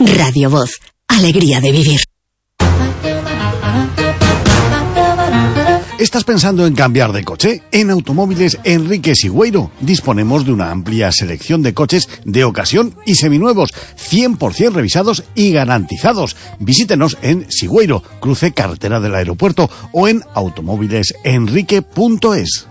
Radio Voz, alegría de vivir. ¿Estás pensando en cambiar de coche? En Automóviles Enrique Sigüeiro disponemos de una amplia selección de coches de ocasión y seminuevos, 100% revisados y garantizados. Visítenos en Sigüeiro, cruce carretera del aeropuerto, o en automóvilesenrique.es.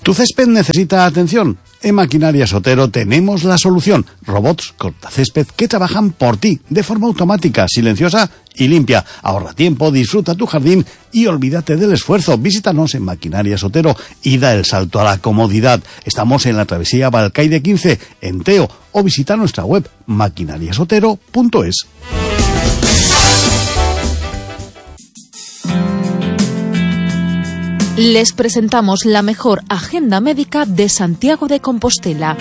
¿Tu césped necesita atención? En Maquinarias Otero tenemos la solución. Robots cortacésped que trabajan por ti, de forma automática, silenciosa y limpia. Ahorra tiempo, disfruta tu jardín y olvídate del esfuerzo. Visítanos en Maquinarias Otero y da el salto a la comodidad. Estamos en la travesía Balcaide 15, en Teo, o visita nuestra web maquinariasotero.es. Les presentamos la mejor agenda médica de Santiago de Compostela.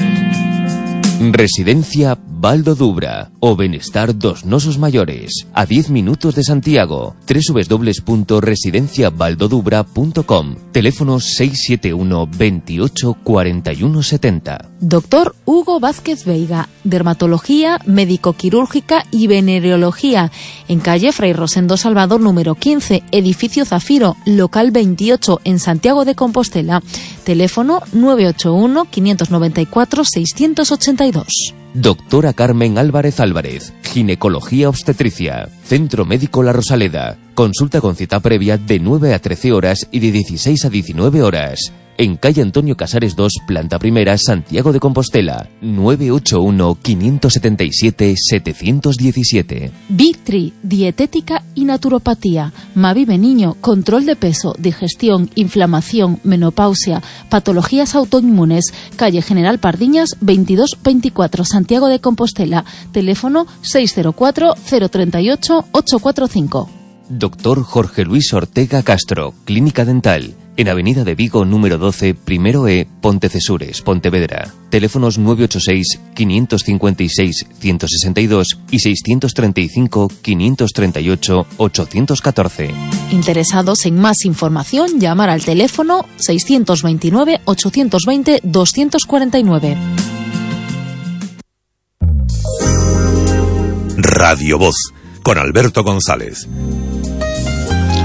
Residencia Baldo Dubra, o Benestar dos Nosos Mayores, a 10 minutos de Santiago. www.residenciabaldodubra.com. Teléfono 671 28 41 70. Doctor Hugo Vázquez Veiga, dermatología, médico-quirúrgica y venereología, en calle Fray Rosendo Salvador número 15, edificio Zafiro, local 28, en Santiago de Compostela. Teléfono 981 594 682. Doctora Carmen Álvarez Álvarez, ginecología obstetricia, Centro Médico La Rosaleda. Consulta con cita previa de 9 a 13 horas y de 16 a 19 horas. En calle Antonio Casares 2, planta primera, Santiago de Compostela. 981-577-717. Victri, dietética y naturopatía. Mavive Niño, control de peso, digestión, inflamación, menopausia, patologías autoinmunes. Calle General Pardiñas 2224, Santiago de Compostela. Teléfono 604-038-845. Doctor Jorge Luis Ortega Castro, Clínica Dental. En Avenida de Vigo, número 12, primero E, Pontecesures, Pontevedra. Teléfonos 986-556-162 y 635-538-814. Interesados en más información, llamar al teléfono 629-820-249. Radio Voz, con Alberto González.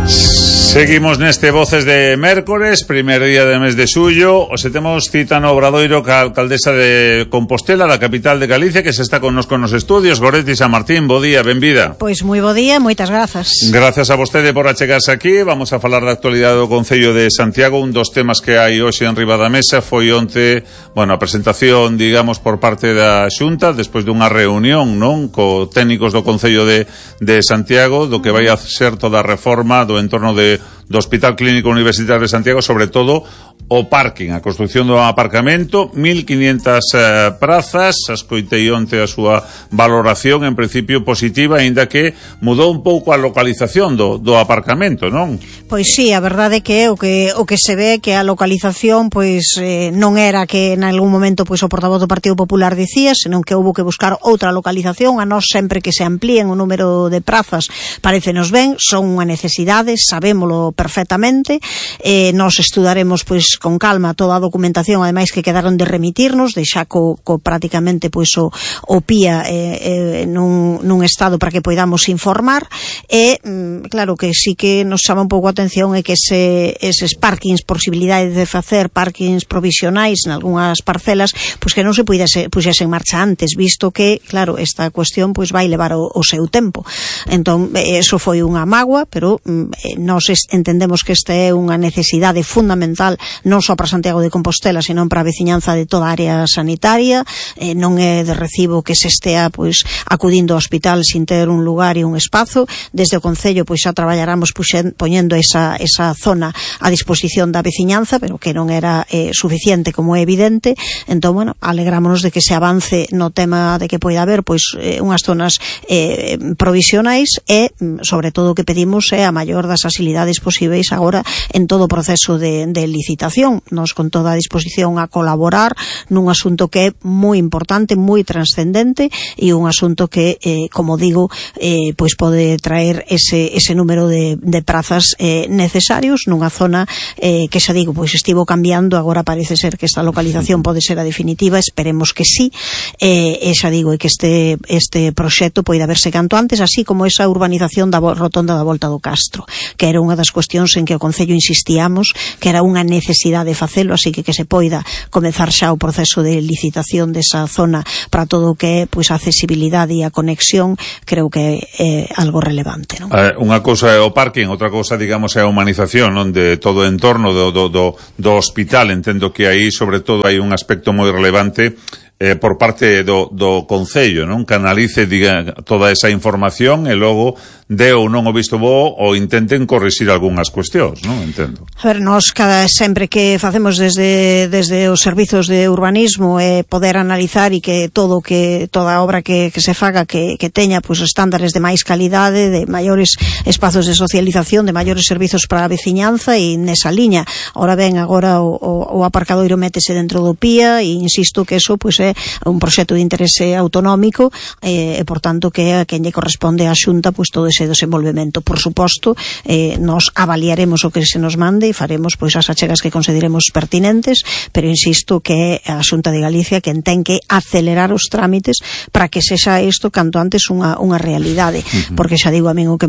Seguimos neste Voces de Mércores, primer día de mes de xullo. Os temos cita no Obradoiro ca alcaldesa de Compostela, da capital de Galicia, que se está connosco nos estudios. Goretti San Martín, bo día, benvida. Pois moi bo día, moitas grazas. Grazas a vostede por achegarse aquí. Vamos a falar da actualidade do Concello de Santiago. Un dos temas que hai hoxe en riba da mesa foi onte, a presentación, digamos, por parte da Xunta, despois dunha reunión, non, co técnicos do Concello de Santiago, do que vai a ser toda a reforma do entorno do Hospital Clínico Universitario de Santiago, sobre todo o parking, a construción do aparcamento, 1.500 prazas. Escoitei onte a súa valoración, en principio positiva, aínda que mudou un pouco a localización do aparcamento, non? Pois sí, a verdade que o que se ve que a localización non era que en algún momento o portavoz do Partido Popular dicía, senón que houbo que buscar outra localización. A nós sempre que se amplíen o número de prazas parécenos ben, son unha necesidade, sabémolo perfectamente. Nós estudaremos con calma toda a documentación, ademais que quedaron de remitirnos, deixa prácticamente o PIA nun estado para que poidamos informar. E claro que sí que nos chama un pouco a atención é que eses parkings, posibilidades de facer parkings provisionais en algunhas parcelas, que non se puxese en marcha antes, visto que, claro, esta cuestión vai levar o seu tempo. Entón, eso foi unha mágoa, pero nós entendemos que esta é unha necesidade fundamental non só para Santiago de Compostela, senón para a veciñanza de toda a área sanitaria. Non é de recibo que se estea acudindo ao hospital sin ter un lugar e un espazo. Desde o Concello xa traballaramos poñendo esa zona a disposición da veciñanza, pero que non era suficiente, como é evidente. Entón, alegrámonos de que se avance no tema de que poida haber unhas zonas provisionais e, sobre todo, o que pedimos é a maior das facilidades posibles posíveis agora en todo o proceso de licitación. Nos con toda a disposición a colaborar nun asunto que é moi importante, moi transcendente e un asunto que, como digo, pois pode traer ese número de prazas necesarios nunha zona que xa digo, pois estivo cambiando, agora parece ser que esta localización pode ser a definitiva, esperemos que sí, e xa digo, que este proxecto poida verse canto antes, así como esa urbanización da rotonda da Volta do Castro, que era unha das cuestións en que o Concello insistíamos que era unha necesidade de facelo, así que se poida comezar xa o proceso de licitación desa zona para todo o que é pois a accesibilidade e a conexión, creo que é algo relevante, non? Unha cousa é o parking, outra cousa, digamos, é a humanización, non, de todo o entorno do hospital. Entendo que aí, sobre todo, hai un aspecto moi relevante por parte do Concello, non? Canalice toda esa información e logo de ou non o visto bo ou intenten corrixir algunhas cuestións, non? Entendo. A ver, nós sempre que facemos desde os servizos de urbanismo poder analizar e que toda obra que se faga que teña pois estándares de máis calidade, de maiores espazos de socialización, de maiores servizos para a veciñanza e nesa liña. Ahora o aparcadoiro métese dentro do PIA e insisto que eso pois é un proxecto de interese autonómico e por tanto que a quen lle corresponde á Xunta pois todo ese desenvolvemento. Por suposto, nos avaliaremos o que se nos mande e faremos pois as achegas que consideremos pertinentes, pero insisto que é a Xunta de Galicia quen ten que acelerar os trámites para que sexa isto canto antes unha realidade, porque xa digo a min o que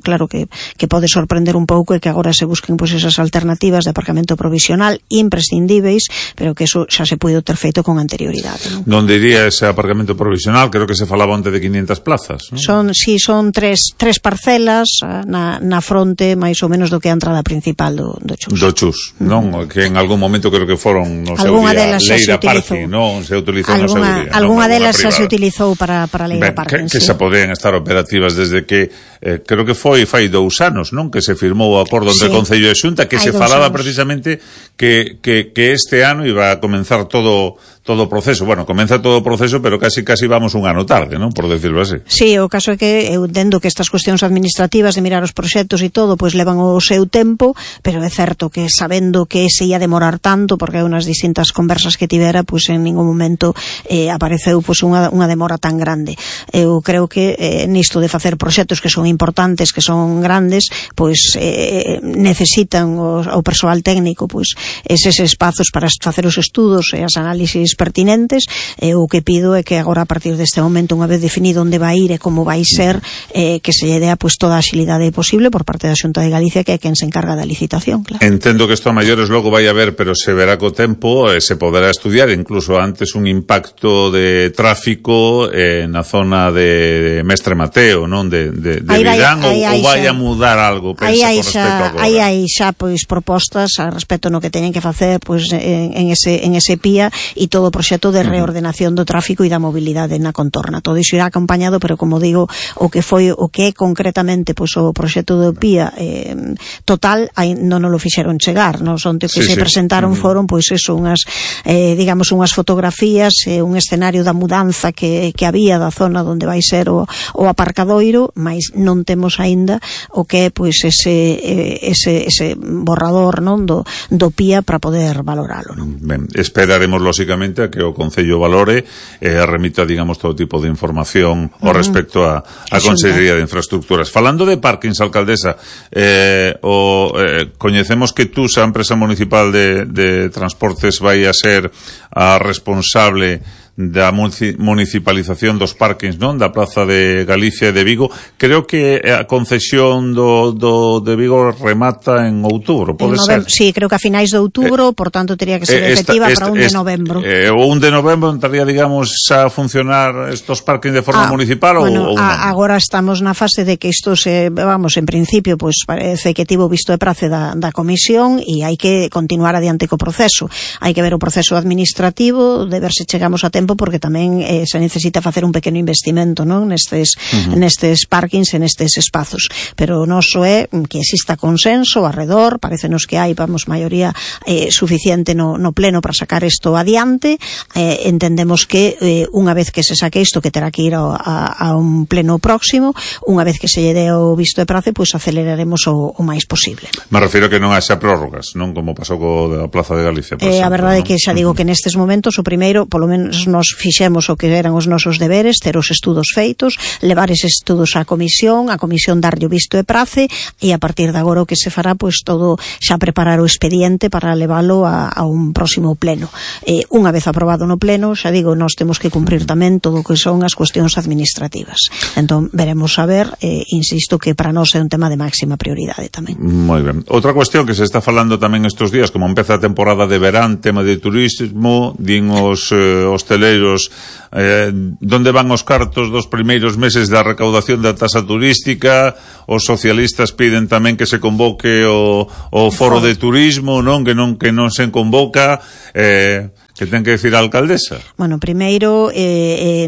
claro que pode sorprender un pouco é que agora se busquen pois esas alternativas de aparcamento provisional imprescindíveis, pero que eso xa se puido ter feito con anterioridade. Donde iría ese aparcamento provisional? Creo que se falaba onte de 500 plazas, non? Son tres parcelas na fronte máis ou menos do que a entrada principal do Chus. Do Chus, non? Que en algún momento creo que foron no seu día Leira Parking, non? Se utilizou no seu día. Algunha delas xa se utilizou para Leira Parking, que xa podían estar operativas desde que creo que foi fai 2 anos, non? Que se firmou o acordo entre Concello e Xunta, que se falaba precisamente que este ano iba a comenzar todo o proceso. Bueno, comeza todo o proceso, pero casi vamos un ano tarde, non? Por decirlo así. Sí, o caso é que eu entendo que estas cuestións administrativas de mirar os proxectos e todo, pois levan o seu tempo, pero é certo que sabendo que se ia demorar tanto, porque hai unas distintas conversas que tivera, pois en ningún momento apareceu pois unha demora tan grande. Eu creo que nisto de facer proxectos que son importantes, que son grandes, pois necesitan o persoal técnico pois eses espazos para facer os estudos e as análisis pertinentes. O que pido é que agora a partir deste momento, unha vez definido onde vai ir e como vai ser, que se lle dea pois toda a axilidade posible por parte da Xunta de Galicia, que é quen se encarga da licitación, claro. Entendo que isto a maiores logo vai haber, pero se verá co tempo, se poderá estudiar incluso antes un impacto de tráfico na zona de Mestre Mateo, non? De Vidán, ou vai a mudar algo, pensa, con respecto a agora? Aí xa pois propostas a respecto no que teñen que facer pois en ese PIA e todo o proxecto de reordenación do tráfico e da mobilidade na contorna. Todo iso irá acompañado, pero como digo, o que é concretamente pois o proxecto do PIA total, non o fixeron chegar, non son que se presentaron foron pois eso, unhas unhas fotografías, un escenario da mudanza que había da zona onde vai ser o aparcadoiro, mas non temos aínda o que é pois ese borrador, non, do PIA para poder valoralo, non? Ben, esperaremos lógicamente a que o Concello valore e remita, digamos, todo tipo de información ao respecto a Consellería de Infraestructuras. Falando de parkings, alcaldesa, coñecemos que tú, a empresa municipal de transportes, vai a ser a responsable da municipalización dos parkings, non? Da Praza de Galicia e de Vigo. Creo que a concesión de Vigo remata en outubro, pode ser? Sí, creo que a finais de outubro, por tanto teria que ser efectiva para 1 de novembro. O 1 de novembro entraría, digamos, a funcionar estos parkings de forma municipal ou non? Agora estamos na fase de que isto en principio, pois parece que tivo visto de prace da comisión e hai que continuar adiante co proceso. Hai que ver o proceso administrativo, de ver se chegamos a tempo tempo, porque tamén se necesita facer un pequeno investimento, non, nestes parkings e nestes espazos, pero o noso é que exista consenso arredor. Parécenos que hai, maioría suficiente no pleno para sacar isto adiante. Entendemos que unha vez que se saque isto, que terá que ir a un pleno próximo, unha vez que se lle dé o visto de prace, pois aceleraremos o máis posible. Me refiro que non haxa prórrogas, non como pasou co da Plaza de Galicia, por exemplo. A verdade é que xa digo que nestes momentos o primeiro, polo menos nos fixemos o que eran os nosos deberes, ter os estudos feitos, levar eses estudos á comisión, a comisión darlle o visto de prace, e a partir de agora o que se fará, pois todo xa preparar o expediente para leválo a un próximo pleno. Unha vez aprobado no pleno, xa digo, nós temos que cumprir tamén todo o que son as cuestións administrativas. Entón, veremos a ver, insisto que para nós é un tema de máxima prioridade tamén. Moi ben. Outra cuestión que se está falando tamén estes días, como empeza a temporada de verán, tema de turismo, din os hosteleiros, donde van os cartos dos primeiros meses da recaudación da tasa turística. Os socialistas piden tamén que se convoque o foro de turismo, non, que non se convoca. Que ten que decir a alcaldesa? Bueno, primeiro,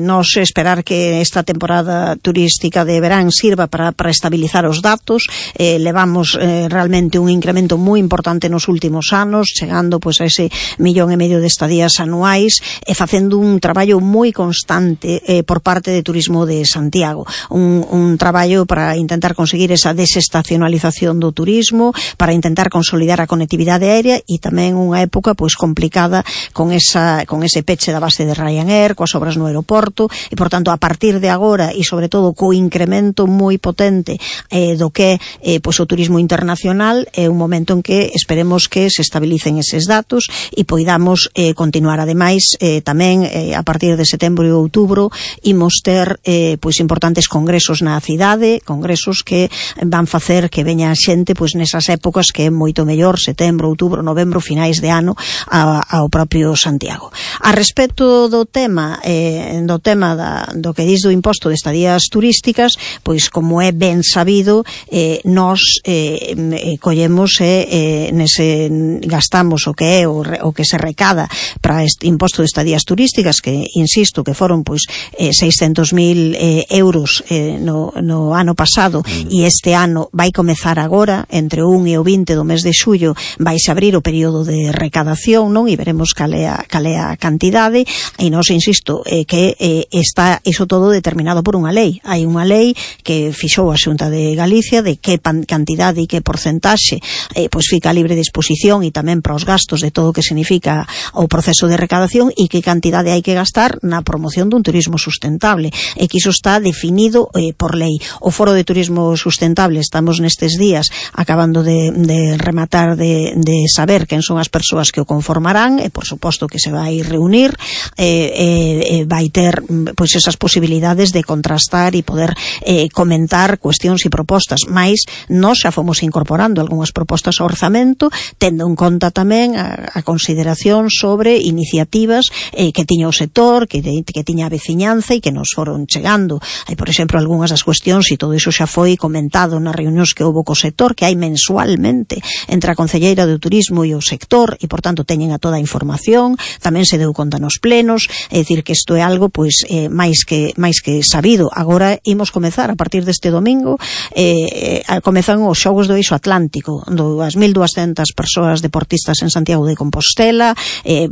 nos esperar que esta temporada turística de verán sirva para estabilizar os datos. Levamos realmente un incremento moi importante nos últimos anos, chegando pois a ese 1,5 millón de estadías anuais, e facendo un traballo moi constante por parte de Turismo de Santiago. Un traballo para intentar conseguir esa desestacionalización do turismo, para intentar consolidar a conectividade aérea, e tamén unha época pois complicada con ese peche da base de Ryanair, coas obras no aeroporto, e por tanto a partir de agora, e sobre todo co incremento moi potente do que pois o turismo internacional, é un momento en que esperemos que se estabilicen eses datos e poidamos continuar. Ademais, tamén a partir de setembro e outubro imos ter pois importantes congresos na cidade, congresos que van facer que veña a xente pois nesas épocas que é moito mellor, setembro, outubro, novembro, finais de ano, ao propio Santiago. A respecto do tema do que dis do imposto de estadías turísticas, pois como é ben sabido, nós collemos gastamos o que é o que se recada para este imposto de estadías turísticas, que insisto que foron pois 600.000 euros no ano pasado, e este ano vai comezar agora, entre o 1 e o 20 do mes de xullo, vais abrir o período de recadación, non? E veremos cal é a cantidade, e nós insisto que está iso todo determinado por unha lei. Hai unha lei que fixou a Xunta de Galicia de que cantidade e que porcentaxe pois fica a libre disposición, e tamén para os gastos de todo o que significa o proceso de recadación, e que cantidade hai que gastar na promoción dun turismo sustentable, e que iso está definido por lei. O Foro de Turismo Sustentable, estamos nestes días acabando de rematar de saber quen son as persoas que o conformarán, e por suposto que se vai reunir, vai ter pois esas posibilidades de contrastar e poder comentar cuestións e propostas. Mais nós xa fomos incorporando algunhas propostas ao orzamento, tendo en conta tamén a consideración sobre iniciativas que tiña o sector, que tiña a veciñanza, e que nos foron chegando. Hai, por exemplo, algunhas das cuestións, e todo iso xa foi comentado nas reunións que houbo co sector, que hai mensualmente entre a Concelleira do Turismo e o sector, e por tanto teñen a toda a información. Tamén se deu conta nos plenos, é dicir que isto é algo pois máis que sabido. Agora imos comezar a partir deste domingo, comezan os Xogos do Eixo Atlántico, as 1.200 persoas deportistas en Santiago de Compostela.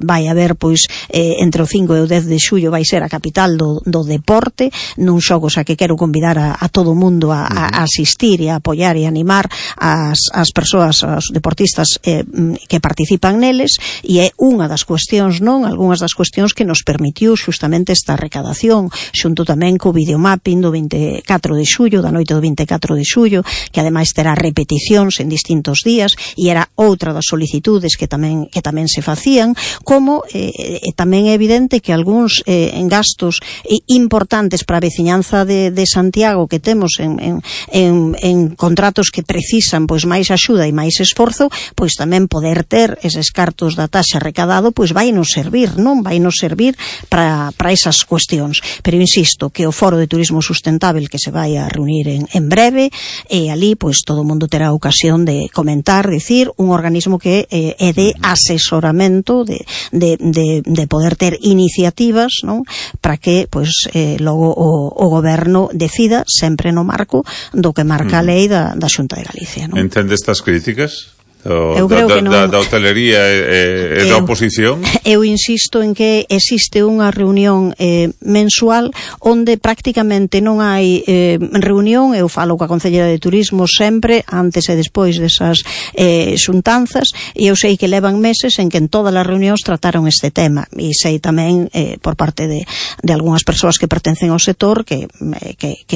Vai haber pois entre o 5 e o 10 de xullo vai ser a capital do deporte, nun xogos a que quero convidar a todo o mundo a asistir e a apoiar e animar as persoas, os deportistas que participan neles, e é unha das cuestións, non? Algúnas das cuestións que nos permitiu xustamente esta recadación, xunto tamén co videomapping do 24 de xullo, da noite do 24 de xullo, que ademais terá repeticións en distintos días, e era outra das solicitudes que tamén se facían, como tamén é evidente que algúns gastos importantes para a veciñanza de Santiago que temos en contratos que precisan pois máis axuda e máis esforzo, pois tamén poder ter eses cartos da taxa recadado pois nos servir, non? Vai nos servir para esas cuestións. Pero insisto que o Foro de Turismo Sustentável que se vai a reunir en breve, e ali pois todo o mundo terá ocasión de comentar, dicir, un organismo que é de asesoramento, de poder ter iniciativas, non? Para que pois logo o goberno decida sempre no marco do que marca a lei da Xunta de Galicia, non? Entende estas críticas? Eu creo que non. Da hotelería e da oposición? Eu insisto en que existe unha reunión mensual onde prácticamente non hai reunión. Eu falo coa Concelleira de Turismo sempre, antes e despois desas xuntanzas, e eu sei que levan meses en que en todas as reunións trataron este tema, e sei tamén por parte de algunhas persoas que pertencen ao sector que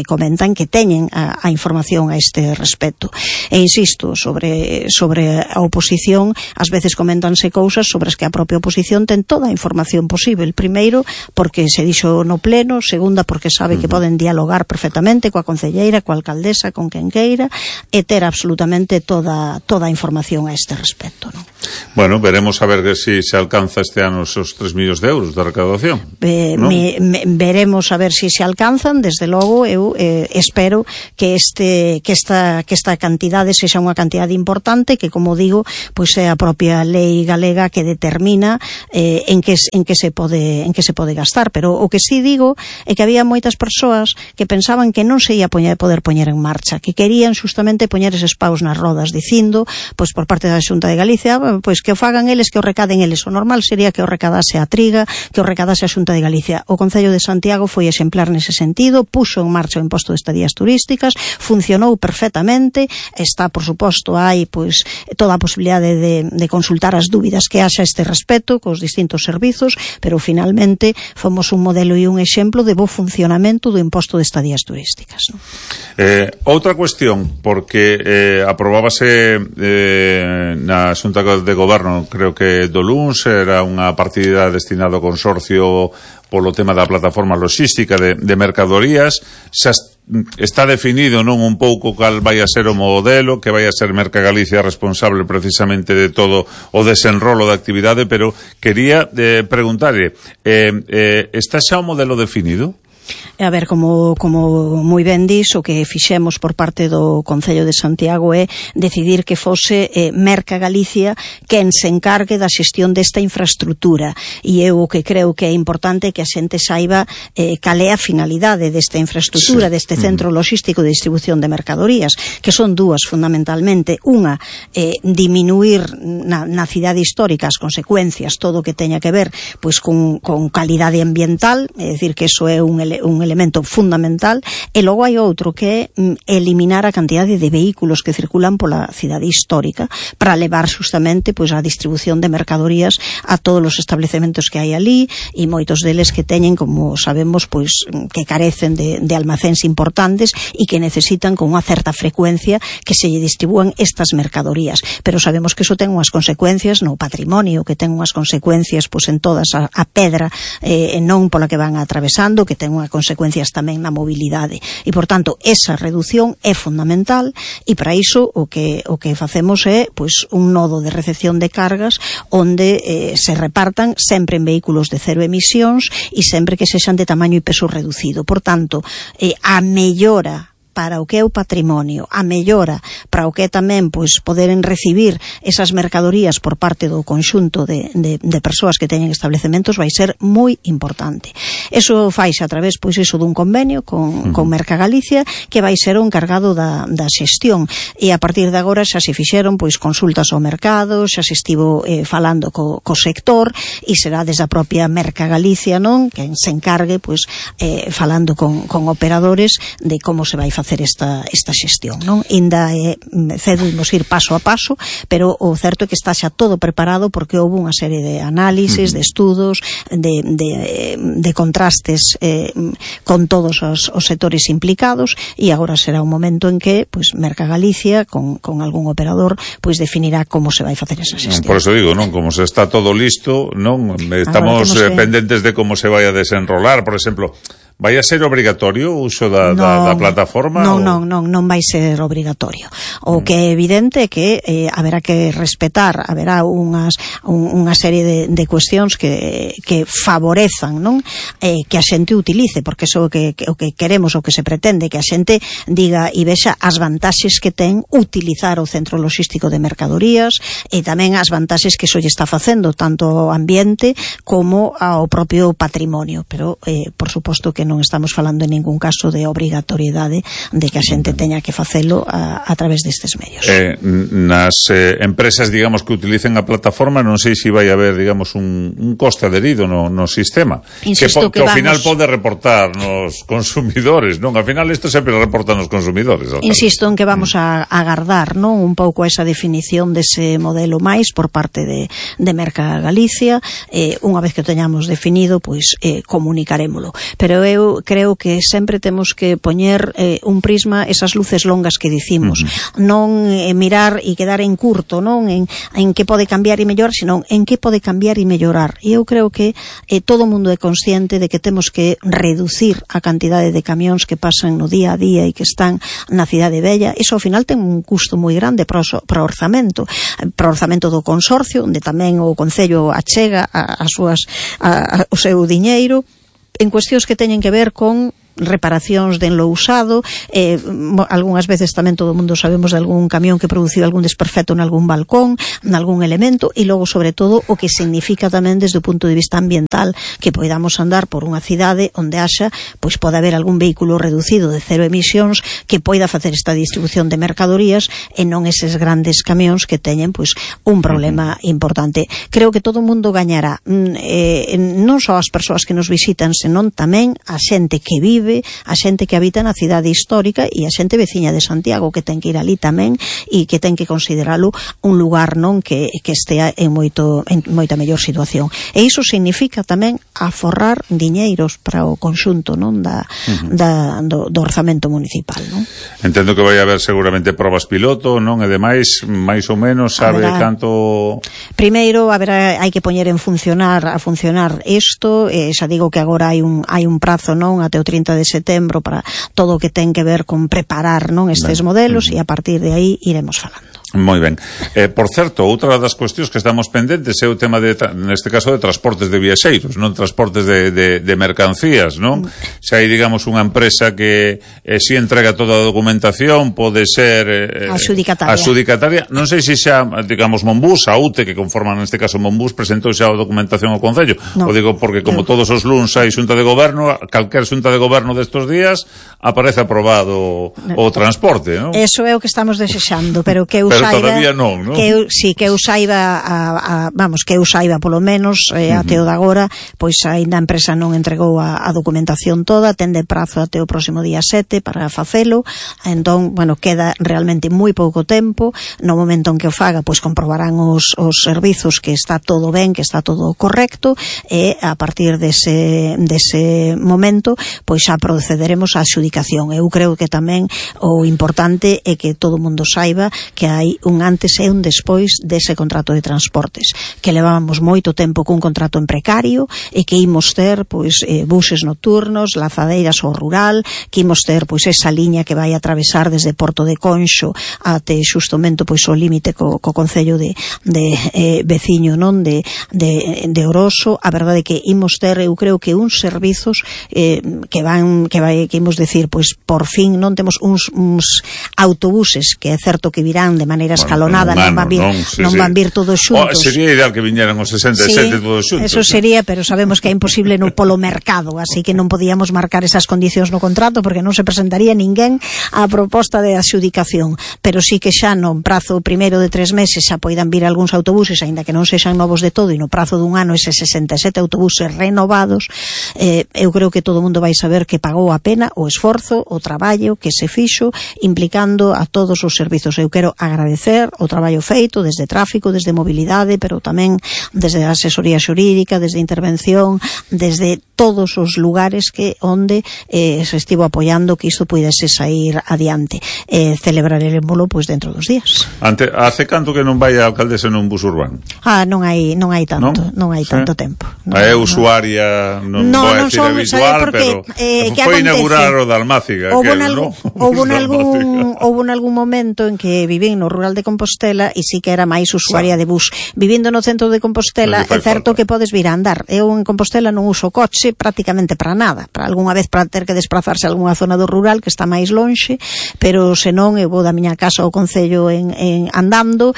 comentan que teñen a información a este respecto. E insisto, sobre a oposición, ás veces comentanse cousas sobre as que a propia oposición ten toda a información posible. Primeiro, porque se dixo no pleno; segunda, porque sabe que poden dialogar perfectamente coa concelleira, coa alcaldesa, con quen queira, e ter absolutamente toda a información a este respecto, non? Bueno, veremos a ver se alcanza este ano esos 3 millóns de euros de recaudación. Veremos a ver se alcanzan. Desde logo, eu espero que esta cantidade sexa unha cantidade importante, que, como digo, pois é a propia lei galega que determina en que se pode gastar. Pero o que sí digo é que había moitas persoas que pensaban que non se ia poder poñer en marcha, que querían justamente poñer eses paus nas rodas, dicindo, pois por parte da Xunta de Galicia, pois que o fagan eles, que o recaden eles. O normal sería que o recadase a Triga, que o recadase a Xunta de Galicia. O Concello de Santiago foi exemplar nese sentido, puxo en marcha o imposto de estadías turísticas, funcionou perfectamente. Está, por suposto, hai pois toda a posibilidade de consultar as dúbidas que haxa a este respecto cos distintos servizos, pero finalmente fomos un modelo e un exemplo de bo funcionamento do imposto de estadías turísticas, non? Outra cuestión, porque aprobábase na Xunta de Goberno, creo que do luns, era unha partida destinada ao consorcio polo tema da plataforma logística de mercadorías. Xa está definido, non, un pouco cal vai a ser o modelo, que vai a ser Merca Galicia responsable precisamente de todo o desenrolo da actividade, pero quería preguntarle, está xa o modelo definido? A ver, como moi ben dis, o que fixemos por parte do Concello de Santiago é decidir que fose Merca Galicia quen se encargue da xestión desta infraestructura, e eu o que creo que é importante que a xente saiba cal é a finalidade desta infraestructura, deste centro logístico de distribución de mercadorías, que son dúas fundamentalmente. Unha, diminuir na cidade histórica as consecuencias, todo o que teña que ver pois con calidade ambiental, é dicir, que eso é un elemento fundamental. E logo hai outro, que é eliminar a cantidade de vehículos que circulan pola cidade histórica para levar justamente pois a distribución de mercadorías a todos os establecementos que hai ali, e moitos deles que teñen, como sabemos, pois que carecen de almacéns importantes e que necesitan con unha certa frecuencia que se lle distribúan estas mercadorías. Pero sabemos que iso ten unhas consecuencias no patrimonio, que ten unhas consecuencias pois en todas a pedra non pola que van atravesando, que ten unhas consecuencias tamén na mobilidade, e por tanto esa reducción é fundamental. E para iso o que facemos é pois un nodo de recepción de cargas onde se repartan sempre en vehículos de cero emisións e sempre que sexan de tamaño e peso reducido. Por tanto, a mellora para o que é o patrimonio, a mellora para o que é tamén pois poderen recibir esas mercadorías por parte do conxunto de persoas que teñen establecementos vai ser moi importante. Eso faise a través pois iso dun convenio con Merca Galicia, que vai ser o encargado da xestión, e a partir de agora xa se fixeron pois consultas ao mercado, xa se estivo falando co sector, e será desde a propia Merca Galicia, non, quen se encargue pois falando con operadores de como se vai facer esta xestión, non? Inda cedo imos ir paso a paso, pero o certo é que está xa todo preparado, porque houve unha serie de análisis, de estudos, de contrastes con todos os sectores implicados, e agora será un momento en que pois Merca Galicia con algún operador pois definirá como se vai facer esa xestión. Por eso digo, non, como se está todo listo, non, estamos pendentes de como se vai a desenrolar. Por exemplo, vai a ser obrigatorio o uso da plataforma? Non vai ser obrigatorio. O que é evidente é que haberá que respetar, haberá unha serie de cuestións que favorezan, non? Que a xente utilice, porque eso o que queremos, o que se pretende, que a xente diga e vexa as vantaxes que ten utilizar o centro logístico de mercadorías e tamén as vantaxes que iso lle está facendo tanto ao ambiente como ao propio patrimonio, pero por suposto que non estamos falando en ningún caso de obrigatoriedade de que a xente teña que facelo a través destes medios. Nas empresas, digamos, que utilicen a plataforma, non sei se vai haber, digamos, un coste adherido no sistema. Insisto que ao final pode reportar nos consumidores, non? Ao final isto sempre reporta nos consumidores. Insisto en que vamos a agardar, non? Un pouco esa definición dese modelo máis por parte de Merca Galicia. Unha vez que o teñamos definido, pois comunicarémolo. Pero eu creo que sempre temos que poñer un prisma, esas luces longas que dicimos, non mirar e quedar en curto, non en que pode cambiar e mellorar, senón en que pode cambiar e mellorar. E eu creo que todo o mundo é consciente de que temos que reducir a cantidade de camións que pasan no día a día e que están na cidade vella. Iso ao final ten un custo moi grande para o orzamento do consorcio, onde tamén o Concello achega o seu diñeiro en cuestións que teñen que ver con reparacións de enlo usado, algunhas veces tamén todo o mundo sabemos de algún camión que produciu algún desperfecto en algún balcón, en algún elemento, e logo sobre todo o que significa tamén desde o punto de vista ambiental que poidamos andar por unha cidade onde haxa, pois pode haber algún vehículo reducido de cero emisións que poida facer esta distribución de mercadorías e non eses grandes camións que teñen pois un problema importante. Creo que todo o mundo gañará, non só as persoas que nos visitan, senón tamén a xente que vive, a xente que habita na cidade histórica e a xente veciña de Santiago, que ten que ir ali tamén e que ten que consideralo un lugar non que estea en moita mellor situación. E iso significa tamén aforrar diñeiros para o conxunto non do orzamento municipal, non? Entendo que vai haber seguramente probas piloto, non? E demais, máis ou menos, sabe canto... Primeiro, hai que poñer a funcionar isto, xa digo que agora hai un prazo, non, até o 30 de setembro para todo o que ten que ver con preparar, non, estes modelos, e a partir de aí iremos falando. Moi ben. Por certo, outra das cuestións que estamos pendentes é o tema neste caso de transportes de viaxeiros, non transportes de mercancías, non? Se hai, digamos, unha empresa que si entrega toda a documentación, pode ser adxudicataria. Non sei se xa, digamos, Monbús, a UTE, que conforman neste caso Monbús, presentou xa a documentación ao Concello. O digo porque como todos os luns hai xunta de goberno, calquer xunta de goberno destos días aparece aprobado o transporte, non? Eso é o que estamos desexando, pero que todavía non? Que eu saiba, que eu saiba polo menos até o de agora, pois aínda a empresa non entregou a documentación toda, ten de prazo até o próximo día 7 para facelo, entón, queda realmente moi pouco tempo. No momento en que o faga, pois comprobarán os servizos que está todo ben, que está todo correcto, e a partir dese momento, pois xa procederemos á adxudicación. Eu creo que tamén o importante é que todo o mundo saiba que hai un antes e un despois dese contrato de transportes, que levábamos moito tempo cun contrato en precario e que imos ter pois buses nocturnos, lazadeiras ao rural, que imos ter pois esa liña que vai atravesar desde Porto de Conxo até xustamente pois o límite co Concello de veciño, non, de Oroso. A verdade é que imos ter, eu creo que uns servizos que imos decir, pois por fin non temos uns autobuses que é certo que virán de maneira escalonada, non van vir todos xuntos. Sería ideal que viñeran os 67 todos xuntos. Eso sería, pero sabemos que é imposible no polo mercado, así que non podíamos marcar esas condicións no contrato porque non se presentaría ninguén á proposta de adxudicación, pero sí que xa no prazo primeiro de 3 meses xa poidan vir algúns autobuses, aínda que non sexan novos de todo, e no prazo dun ano eses 67 autobuses renovados. Eu creo que todo o mundo vai saber que pagou a pena o esforzo, o traballo que se fixo implicando a todos os servizos. Eu quero agradecer o traballo feito desde tráfico, desde mobilidade, pero tamén desde a asesoría xurídica, desde intervención, desde todos os lugares onde se estivo apoiando que isto puidese sair adiante. Celebraremoslo pois dentro dos días. Hace canto que non vai a alcaldesa nun bus urbano? Non hai tanto, non hai tanto tempo. É usuaria, non vou a decir habitual, pero foi inaugurar o da Almáciga. Houve algún momento en que vivín no rural de Compostela e sí que era máis usuaria de bus. Vivindo no centro de Compostela, é certo que podes vir a andar. Eu en Compostela non uso coche prácticamente para nada. Para algunha vez para ter que desplazarse a algunha zona do rural que está máis lonxe, pero senón eu vou da miña casa ao concello en andando,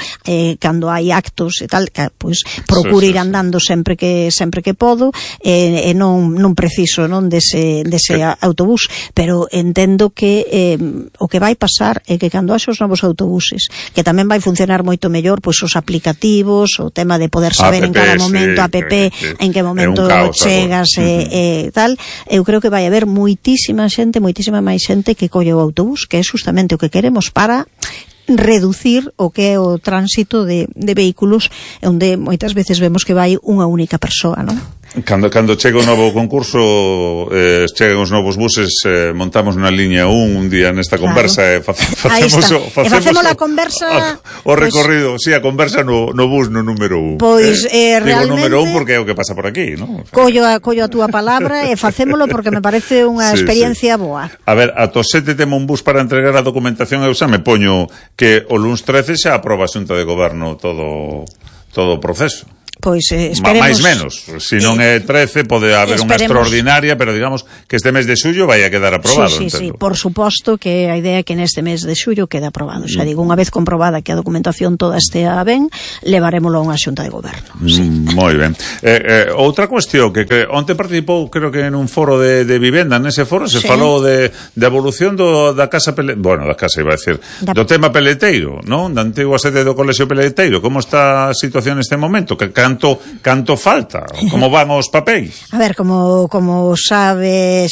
cando hai actos e tal, pois procuro ir andando sempre que podo, e non preciso dese autobús, pero entendo que o que vai pasar é que cando haxe os novos autobuses, que tamén vai funcionar moito mellor pois os aplicativos, o tema de poder saber en cada momento en que momento chegas e tal, eu creo que vai haber moitísima máis xente que colle o autobús, que é justamente o que queremos para reducir o que é o tránsito de vehículos onde moitas veces vemos que vai unha única persoa, non? Cando chega o novo concurso, chegan os novos buses, montamos na liña 1 un día nesta conversa, facemos a conversa o recorrido, a conversa no bus no número 1. Pois digo realmente número 1 porque é o que pasa por aquí, non? Collo a túa palabra e facémolo porque me parece unha experiencia boa. A ver, ata o 7 temo un bus para entregar a documentación, eu xa me poño que o luns 13 xa aproba a Xunta de Goberno todo o proceso. Pois esperemos... máis menos, se non é 13 pode haber unha extraordinaria, pero digamos que este mes de xullo vai a quedar aprobado. Sí, por suposto que a idea é que neste mes de xullo quede aprobado. Xa digo, unha vez comprobada que a documentación toda estea ben, levarémolo a unha Xunta de Goberno. Moi ben. Outra cuestión que onte participou, creo que en un foro de vivenda, nese foro se falou de evolución da casa da casa iba a decir, do tema peleteiro, non? Da antigua sede do Colexio Peleteiro. Como está a situación neste momento? Que canto falta? Como van os papéis? A ver, como sabe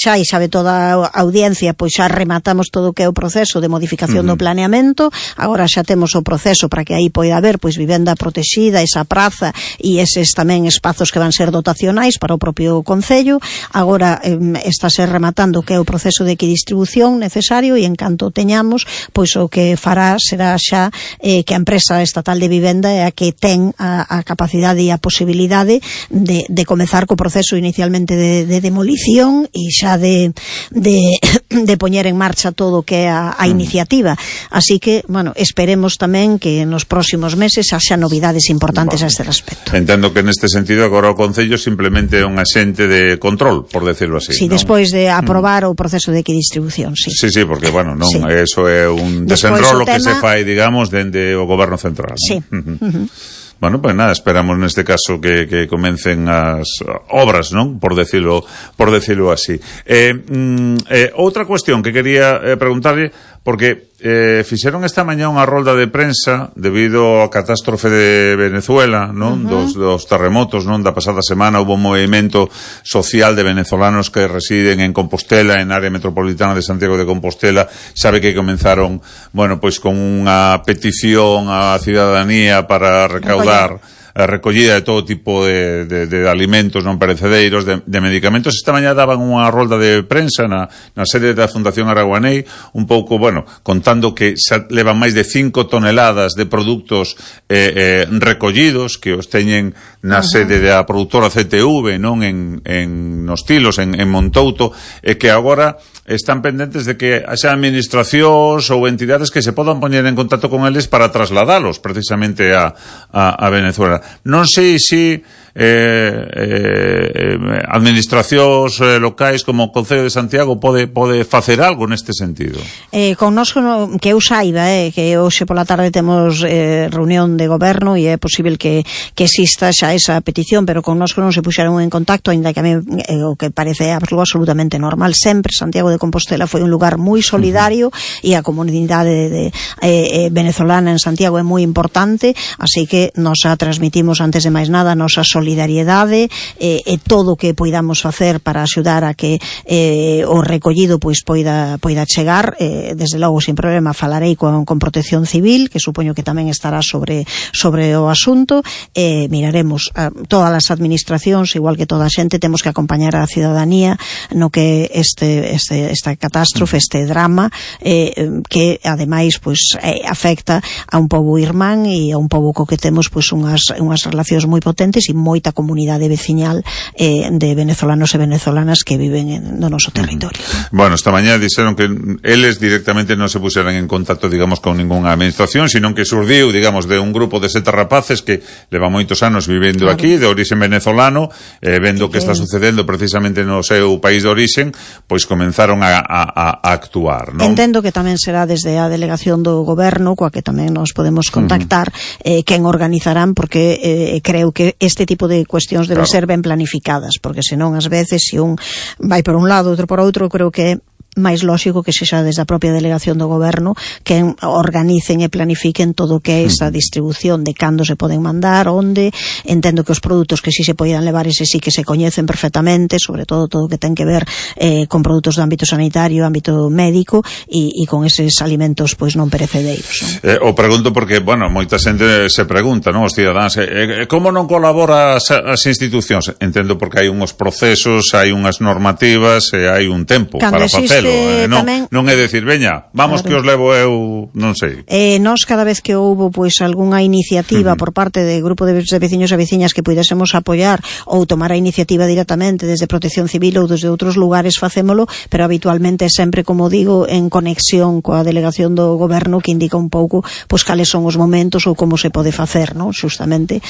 toda a audiencia, pois xa rematamos todo o que é o proceso de modificación do planeamento. Agora xa temos o proceso para que aí poida haber pois vivenda protexida, esa praza e eses tamén espazos que van ser dotacionais para o propio concello. Agora estáse rematando o que é o proceso de equidistribución necesario e en canto teñamos, pois o que fará será xa que a empresa estatal de vivenda é a que ten a capacidade e a posibilidade de comezar co proceso inicialmente de demolición e xa de poñer en marcha todo o que é a iniciativa. Así que, esperemos tamén que nos próximos meses haxa novidades importantes a este respecto. Entendo que neste sentido agora o Concello simplemente é un axente de control, por decirlo así. Sí, despois de aprobar o proceso de equidistribución, sí. Sí, porque, eso é un desenrolo que se fai, digamos, dende o Goberno Central. Sí. Bueno, pues nada, esperamos neste caso que comecen as obras, non? Por decirlo así. Outra cuestión que quería preguntarle, porque fixeron esta mañá unha rolda de prensa debido á catástrofe de Venezuela, non? Dos terremotos, non? Da pasada semana houve un movimento social de venezolanos que residen en Compostela, en área metropolitana de Santiago de Compostela. Sabe que comenzaron, pois con unha petición á cidadanía para recaudar a recollida de todo tipo de alimentos non perecedeiros, de medicamentos. Esta mañá daban unha rolda de prensa na sede da Fundación Araguanei, un pouco, contando que levan máis de 5 toneladas de produtos recollidos, que os teñen na sede da produtora CTV, non nos Tilos, en Montouto, e que agora están pendentes de que haxa administracións ou entidades que se podan poñer en contacto con eles para trasladalos precisamente a Venezuela. Non sei se administracións locais como o Concello de Santiago pode facer algo neste sentido. Connosco, que eu saiba, que hoxe pola tarde temos reunión de goberno e é posible que exista xa esa petición, pero connosco non se puxeron en contacto, ainda que a mí o que parece absolutamente normal. Sempre Santiago de Compostela foi un lugar moi solidario e a comunidade venezolana en Santiago é moi importante, así que nos transmitimos antes de máis nada a nosa solidaridade solidariedade e todo o que poidamos facer para axudar a que o recollido pois poida chegar, desde logo sin problema falarei con Protección Civil, que supoño que tamén estará sobre o asunto, miraremos todas as administracións, igual que toda a xente, temos que acompañar a cidadanía no que esta catástrofe, este drama, que ademais pois afecta a un pobo irmán e a un pobo co que temos pois unhas relacións moi potentes e moita comunidade veciñal de venezolanos e venezolanas que viven no noso territorio. Bueno, esta mañá dixeron que eles directamente non se puseran en contacto, digamos, con ninguna administración, sino que surdiu, digamos, de un grupo de 7 rapaces que levan moitos anos vivendo aquí, de orixe venezolano, vendo que está sucedendo precisamente no seu país de orixen, pois comenzaron a actuar, non? Entendo que tamén será desde a delegación do goberno, coa que tamén nos podemos contactar, quen organizarán, porque creo que este tipo de cuestións deben ser ben planificadas, porque senón ás veces se un vai por un lado, outro por outro, creo que máis lóxico que sexa desde a propia delegación do goberno que organicen e planifiquen todo o que é esa distribución de cando se poden mandar, onde. Entendo que os produtos que si se poidan levar ese sí que se coñecen perfectamente, sobre todo o que ten que ver con produtos do ámbito sanitario, ámbito médico e con eses alimentos pois non perecedeiros. O pregunto porque, bueno, moita xente se pregunta, non, os cidadáns, como non colabora as institucións? Entendo porque hai unhos procesos, hai unhas normativas e hai un tempo para facelo. Non é decir, veña, vamos, claro, que os levo eu, non sei. Nós cada vez que houbo pois algunha iniciativa por parte de grupo de veciños e veciñas que puidésemos apoiar ou tomar a iniciativa directamente desde Protección Civil ou desde outros lugares, facémolo, pero habitualmente sempre, como digo, en conexión coa delegación do goberno, que indica un pouco pois cales son os momentos ou como se pode facer, non? Xustamente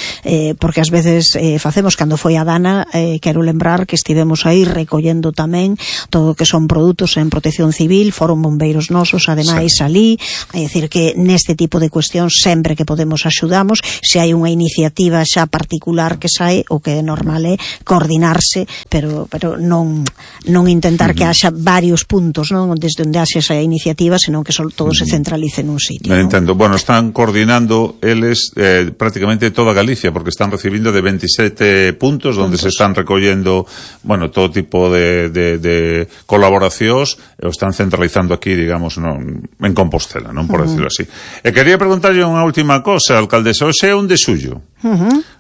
porque ás veces facemos, cando foi a Dana, quero lembrar que estivemos aí recollendo tamén todo o que son produtos en Protección Civil, foron bombeiros nosos ademais alí, é dicir que neste tipo de cuestións sempre que podemos axudamos. Se hai unha iniciativa xa particular que sae, o que é normal é coordinarse, pero non intentar que haxa varios puntos, non, desde onde haxe esa iniciativa, senón que todo se centralice nun sitio. Entendo. Bueno, están coordinando eles prácticamente toda Galicia, porque están recibindo de 27 puntos onde se están recollendo, bueno, todo tipo de colaboracións, o están centralizando aquí, digamos, en Compostela, non, por decirlo así. E quería preguntarlle unha última cosa, alcaldesa. Hoxe é 1 de xullo.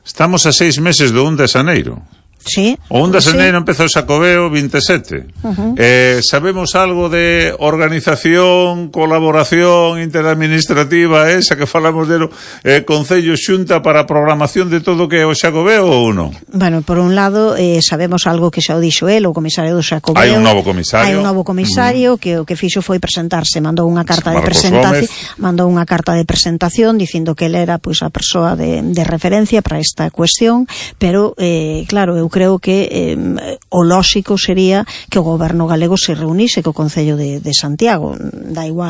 Estamos a 6 meses do 1 de xaneiro. Sí. O 1 de xaneiro empeza o Xacobeo 27. Sabemos algo de organización, colaboración interadministrativa, esa que falamos de Concello Xunta para a programación de todo o que é o Xacobeo ou non? Bueno, por un lado, sabemos algo que xa o dixo el, o comisario do Xacobeo. Hai un novo comisario. Que o que fixo foi presentarse, mandou unha carta de presentación dicindo que ele era pois a persoa de referencia para esta cuestión, pero claro, eu creo que o lóxico sería que o goberno galego se reunise co Concello de Santiago, da igual